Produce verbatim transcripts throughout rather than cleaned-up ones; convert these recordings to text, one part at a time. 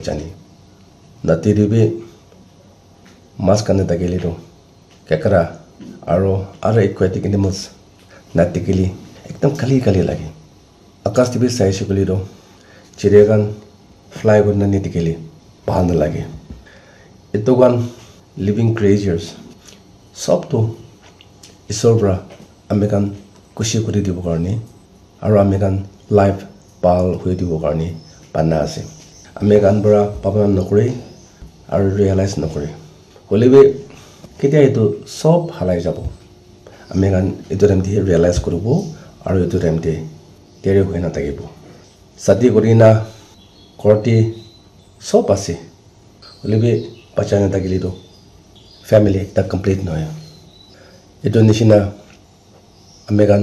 jani. Nati te bi mas khan thakile toh kekra aro other aquatic animals nathakile ekdam khali khali lage. Akas te bi saishe koile toh chiriya khan fly kurina nathakile bhal nalage. Etu khan living creatures sob toh Isor para ami khan khushi kuri dibo karne aro ami khan life bhal hoi dibo karne bana ase. Ami khan para bhabna nokore aro realize nokore. Hoile bi ketia etu sob halai jabo. Ami khan etu time te realize kuribo aro etu time te deri hoi na thakibo. Shadi kurina ghor te sob ase. Hoile bi bacha nathakile toh family ekta complete nohoi. Etu nishina ami khan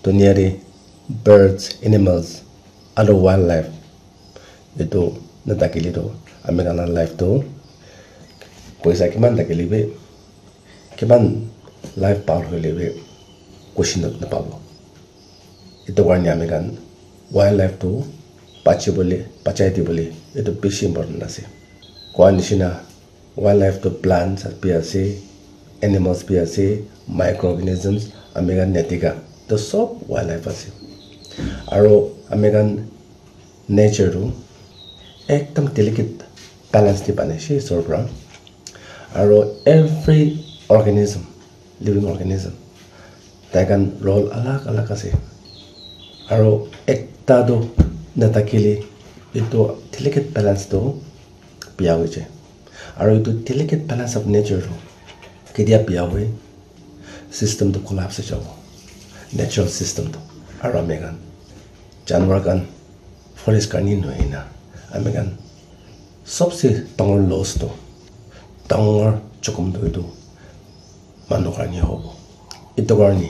dunia te birds, animals, aro wildlife etu nathakile toh ami khan la life toh poisa kiman thakile bi, kiman life bhal hoile bi khushi na- napabo. Etu karne ami khan wildlife toh bachibole, bachai dibole etu bishi important ase. Koa nishina wildlife toh plants bi ase, animals bi ase, microorganisms ami khan nathaka toh sob wildlife ase. Aro ami khan nature toh ekdam delicate balance te banai she Isor para. Aro every organism, living organism, tai khan role alag alag ase. Aro ekta toh nathakile etu delicate balance toh biya hoi jai. Aro etu delicate balance of nature toh ketia biya hoi, system toh collapse hoi jabo, natural system toh. Aro ami khan janwar khan forest karne nohoi na ami khan sobse dangor loss toh, dangor jokhom toh etu manu karne hobo. Etu karne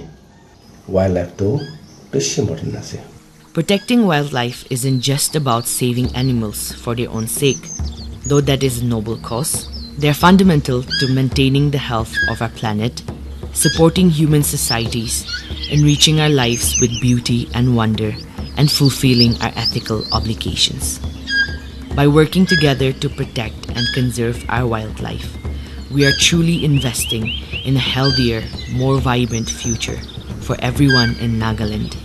wildlife toh bishi important ase. Protecting wildlife isn't just about saving animals for their own sake, though that is a noble cause. They're fundamental to maintaining the health of our planet, supporting human societies, enriching our lives with beauty and wonder, and fulfilling our ethical obligations. By working together to protect and conserve our wildlife, we are truly investing in a healthier, more vibrant future for everyone in Nagaland